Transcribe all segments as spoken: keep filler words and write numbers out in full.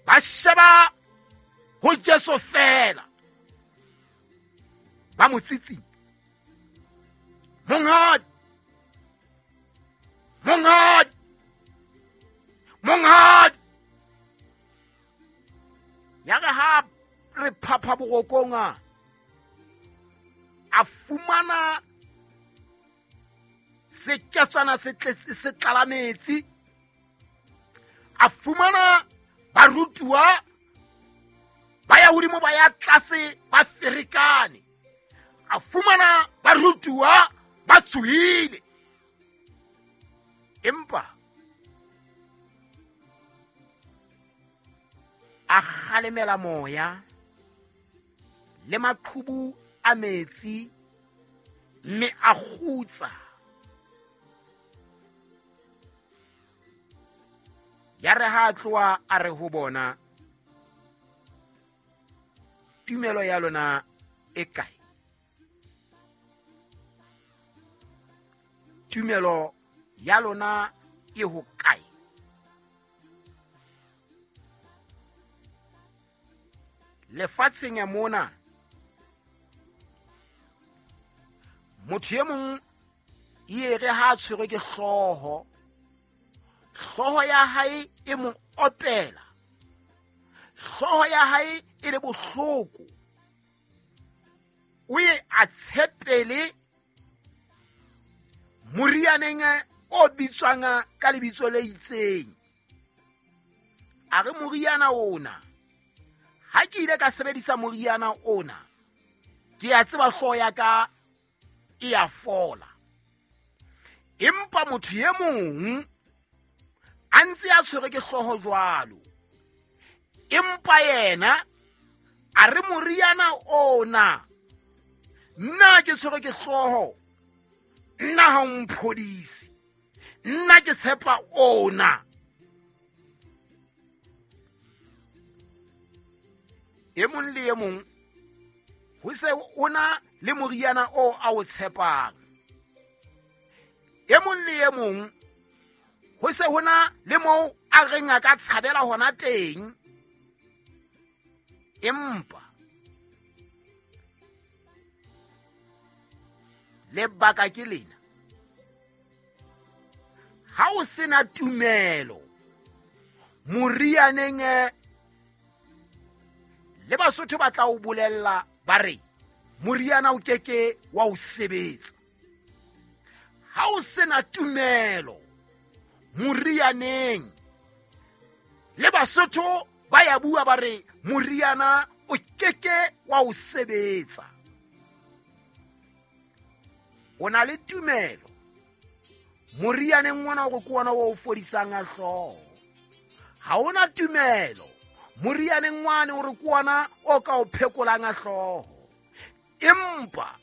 Ba sheba ho Jesu fela. Ba mo tsitsinya. Monghadi, monghadi, monghadi. Ya re ha re phapha borokong a, a fumana seketswana se tletse se tlala metsi. A fumana barutuwa ba ya hodimo ba ya tlase ba ferekane. A fumana barutuwa ba tshohile. Empa a kgalemela moya le maqhubu a metsi mme a kgutsa. Ya re ha a tloha a re ho bona, tumelo ya lona e kae? Tumelo ya lona e ho kae? Lefatsheng ya mona, motho e mong e re ha a tshwerwe ke hlooho, hlooho ya hae e mo opela, hlooho ya hae e le bohloko, o ye a tshepele morianeng o bitswang ka lebitso le itseng. A re moriana ona, ha ke ile ka sebedisa moriana ona, ke a tseba hlooho ya ka e a fola. Empa motho e mong a ntse a tshwerwe ke hlooho jwalo, empa yena a re moriana ona, nna ke tshwerwe ke hlooho, nna ha o mphodise, nna ke tshepa ona. E mong le e mong ho se o na le moriana o a o tshepang. E mong le e mong ho se ho na le moo a reng a ka tshabela hona teng. Empa lebaka ke lena, ha o sena tumelo morianeng, le Basotho ba tla o bolella ba re moriana o keke wa o sebetsa. Ha o sena tumelo morianeng, le Basotho ba ya bua ba re moriana o keke wa o sebetsa. O na le tumelo morianeng ona hore ke ona o o fodisang a hlooho. Ha ona tumelo morianeng wane hore ke ona o ka o phekolang a hlooho. Empa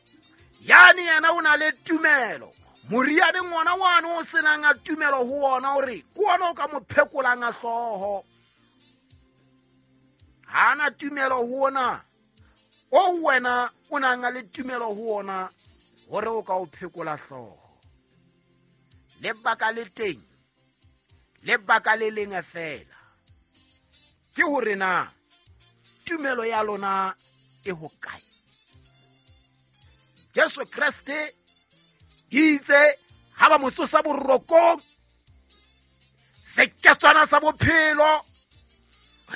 yane yena o na le tumelo morianeng ona wane o senang a tumelo ho ona hore ke ona o ka mo phekolang a hlooho. Ha ana tumelo ho ona o wena o nang le tumelo ho ona hore o ka o phekola hlooho. Lebaka le teng, lebaka le leng feela ke hore na tumelo ya lona e ho kae. Jesu Kreste itse ha ba mo tsosa borokong, seketswana sa bophelo,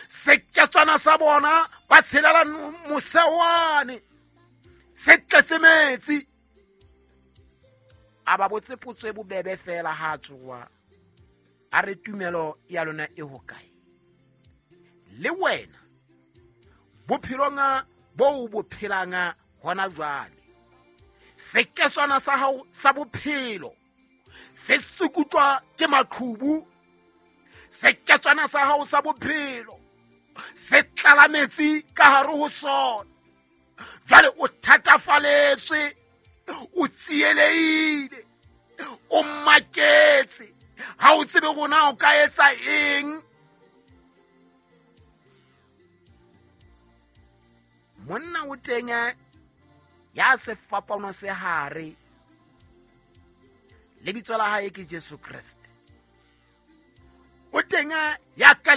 seketswana sa bona ba tshelela mosewane se tletse metsi. A ba botse potso e bobebe fela ha tsoa, a re tumelo ya lona e ho kae? Le wena bophelong bo bo phelang hona jwale, seketswana sa hao sa bophelo se tsukutlwa ke maqhubu, seketswana sa hao sa bophelo se tlala metsi ka hare ho sona. Jwale o thatafaletswe, o tsielehile, o maketse, ha o tsebe rona o ka etsa eng. Monna o teng ya sefapano se hare, lebitso la hae ke Jesu Kreste. O teng ya ka